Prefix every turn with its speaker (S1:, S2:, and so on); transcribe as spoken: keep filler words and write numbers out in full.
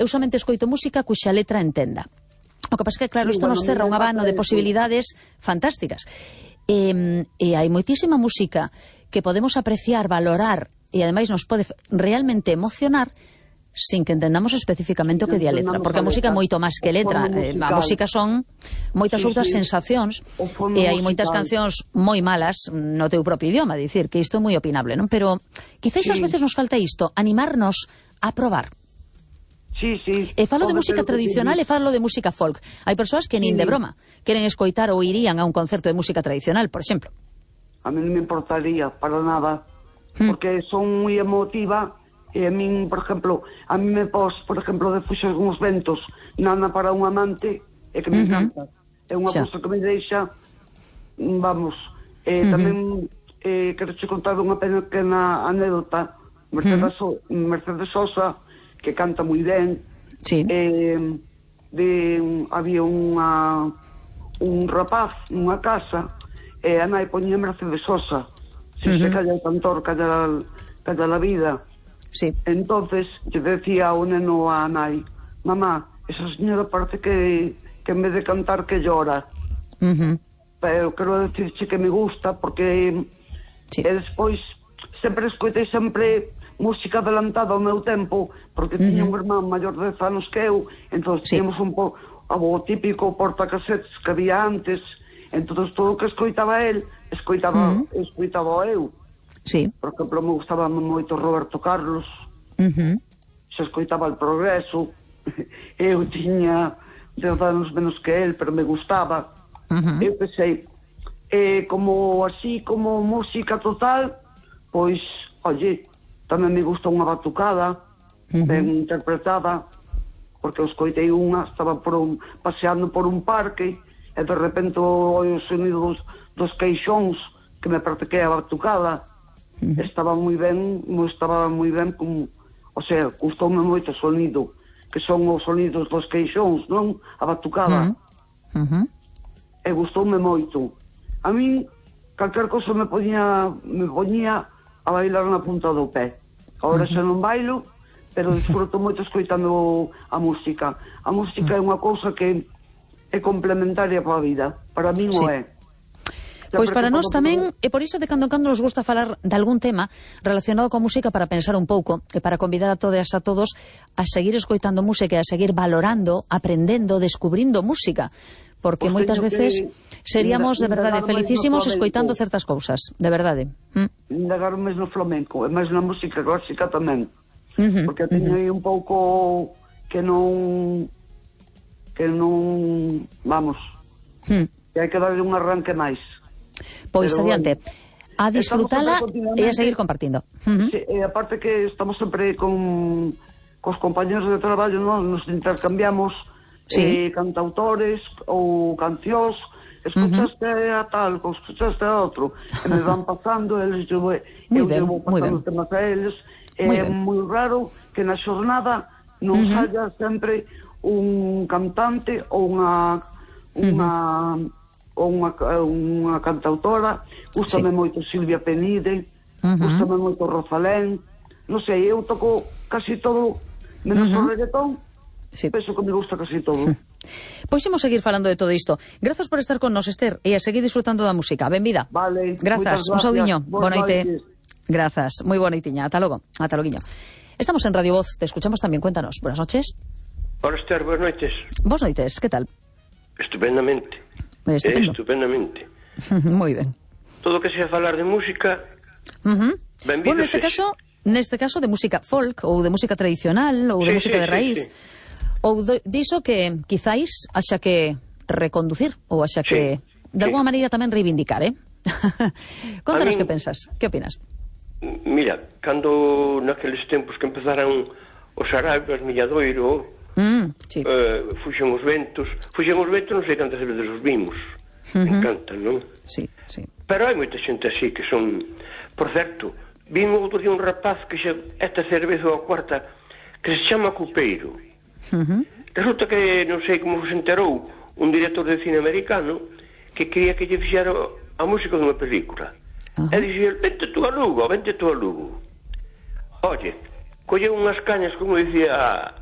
S1: eu somente escoito música cuxa letra entenda. O que pasa é que, claro, isto nos cerra un abano de posibilidades fantásticas. E, e hai moitísima música que podemos apreciar, valorar, e ademais nos pode realmente emocionar sin que entendamos especificamente o que di a letra, porque a música é moito máis que letra. A música son moitas outras sensacións, e hai moitas cancións moi malas no teu propio idioma, dicir que isto é moi opinable, non? Pero quizáis ás veces nos falta isto, animarnos a probar.
S2: Sí, sí.
S1: E falo de música tradicional e falo de música folk. Hai persoas que nin de broma queren escoitar ou irían a un concerto de música tradicional, por exemplo.
S2: A mí non me importaría para nada, porque son moi emotiva, e a min, por exemplo, a mí me pos, por exemplo, de Fuxos uns ventos, Nana para un amante, e que me encanta. É unha cousa que me deixa, vamos, eh, tamén eh, quero che contar unha pequena anécdota. Mercedes, Mercedes Sosa, que canta moi ben,
S1: sí.
S2: eh, de, había unha un rapaz nunha casa, e a nai poñía Mercedes Sosa, se uh -huh. se calla o cantor, calla, calla la vida.
S1: Sí.
S2: Entonces, yo decía ao neno a nai, mamá, esa señora parece que, que en vez de cantar que llora.
S1: Uh -huh.
S2: Pero quero decirche que me gusta, porque sí. E despois, sempre escoitei sempre música adelantada ao meu tempo, porque uh -huh. tiña un irmán maior de dez anos que eu, entón sí. Tínhamos un po o típico portacasetes que había antes, entón todo o que escoitaba el, escoitaba, uh -huh. escoitaba eu.
S1: Sí.
S2: Por exemplo, me gustaba moito Roberto Carlos, uh -huh. se escoitaba El Progreso, eu tiña dez anos menos que el, pero me gustaba. Uh -huh. Eu pensei, eh, como así, como música total, pois, oye, tamén me gusta unha batucada, uh -huh. ben interpretada, porque eu escoitei unha, estaba por un, paseando por un parque, e de repente o sonido dos, dos queixóns, que me parece que é a batucada, uh -huh. estaba moi ben, estaba moi ben, como, o sea, gustoume moito o sonido, que son os sonidos dos queixóns, non? A batucada.
S1: Uh -huh.
S2: E gustoume moito. A min, calquer cosa me poñía, me poñía a bailar na punta do pé. Agora xa non bailo, pero disfruto moito escoitando a música. A música é unha cousa que é complementaria para a vida. Para min o é.
S1: Pois para nós tamén, e por iso de cando en cando nos gusta falar de algún tema relacionado coa música para pensar un pouco, e para convidar a todas a todos a seguir escoitando música e a seguir valorando, aprendendo, descubrindo música. Porque moitas veces seríamos de verdade felicísimos escoitando certas cousas, de verdade.
S2: Indagar máis no flamenco, e máis na música clásica tamén.
S1: Uh -huh,
S2: porque teño aí un pouco que non que non vamos uh -huh. que hai que darle un arranque máis.
S1: Pois pero, adiante, a disfrutala e a seguir compartindo. Uh -huh.
S2: Sí, e aparte que estamos sempre con cos compañeros de traballo, non? Nos intercambiamos sí. eh, cantautores ou cancións, escuchaste uh -huh. a tal, escuchaste a outro, e me van pasando, eles eu, eu llevo pasando temas a eles. É moi raro que na xornada non uh -huh. haya sempre un cantante ou unha unha uh -huh. ou unha, unha cantautora. Gústame sí. moito Silvia Penide, uh -huh. gústame moito Rosalén, non sei, eu toco casi todo menos uh -huh. o reggaetón. Sí. Penso que me gusta casi todo.
S1: Pois imos seguir falando de todo isto. Grazas por estar con nos, Esther, e a seguir disfrutando da música. Benvida.
S2: Vale.
S1: Grazas, un saudiño. Boa noite. Grazas, moi boa noitiña. Ata logo. Ata loguiño. Estamos en Radio Voz, te escuchamos tamén, cuéntanos. Buenas noches.
S3: Hola, Esther, buenas noites.
S1: Buenas noites, ¿qué tal?
S3: Estupendamente.
S1: Estupendo.
S3: Estupendamente.
S1: Moi ben.
S3: Todo o que sea falar de música,
S1: uh -huh.
S3: benvido.
S1: Bueno, neste caso, neste caso de música folk, ou de música tradicional, ou de
S3: sí,
S1: música
S3: sí,
S1: de raíz, sí, sí. ou de, diso que quizáis haxa que reconducir, ou haxa
S3: sí,
S1: que, de
S3: sí.
S1: alguna maneira tamén reivindicar, eh? Contanos
S3: min...
S1: que pensas, que opinas?
S3: Mira, cando naqueles tempos que empezaran os Arabios, Milladoiro,
S1: mm, sí.
S3: uh, fuxen os ventos, fuxen os ventos, non sei cantas veces os vimos, uh -huh. me encantan, non?
S1: Sí, sí.
S3: Pero hai moita xente así que son, por certo, vimos outro día un rapaz que xa, esta cerveza ou a cuarta, que se chama Cupeiro. Uh -huh. Resulta que, non sei como se enterou, un director de cine americano que quería que lle fixera a música dunha película. Uh -huh. E dixía, vente tú a Lugo, vente tú a Lugo. Oye, colleu unhas cañas, como dicía